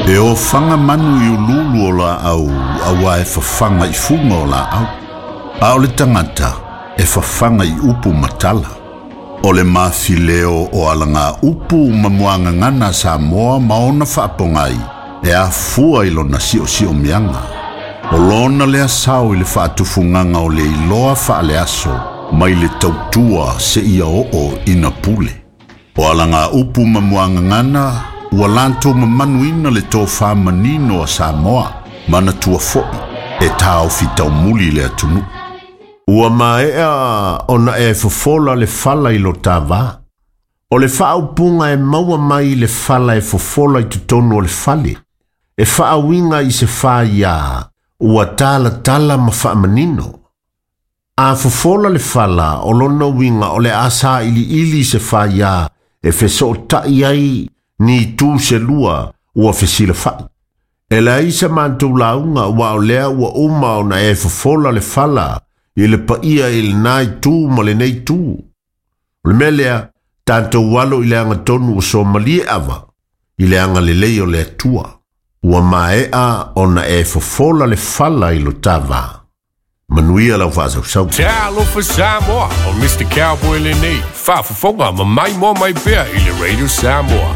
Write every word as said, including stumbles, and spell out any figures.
E ofaga manu i uluulu o laau auā e fafaga i fuga o laau. A o le tagata e fafaga i upu ma tala. O le mafileo o alaga upu ma muagagana a Samoa ma ona faapogai e afua i lona siosiomiaga. O lona lea sao i le faatufugaga o le iloa faaleaso mai le tautua seia oo ina pule. O alaga upu ma muagagana ua latou mamanuina le tofā manino a Samoa manatua foi e taofi taumuli le atunuu. Ua maea ona e fofola le fala i lo ta vā. O le faaupuga e maua mai le fala e fofola i totonu o le fale. E faauiga i se faiā ua talatala ma faamanino. A fofola le fala o lona uiga o le a sailiili se faiā e fesootai ai ni itu se lua ua fesilafai. E leai sa matou lauga ua o lea ua uma ona e fofola le fala i le paia i lena itu ma lenei itu. O le mea lea, tatou alo i le agatonu ua somalie ava i le agalelei o le Atua. Ua maea ona e fofola le fala i lo ta vā. Manuia lau faasausau. Talofa Samoa, o Mister Cowboy lenei. Faafofoga ma maimoa mai pea i le Radio Samoa.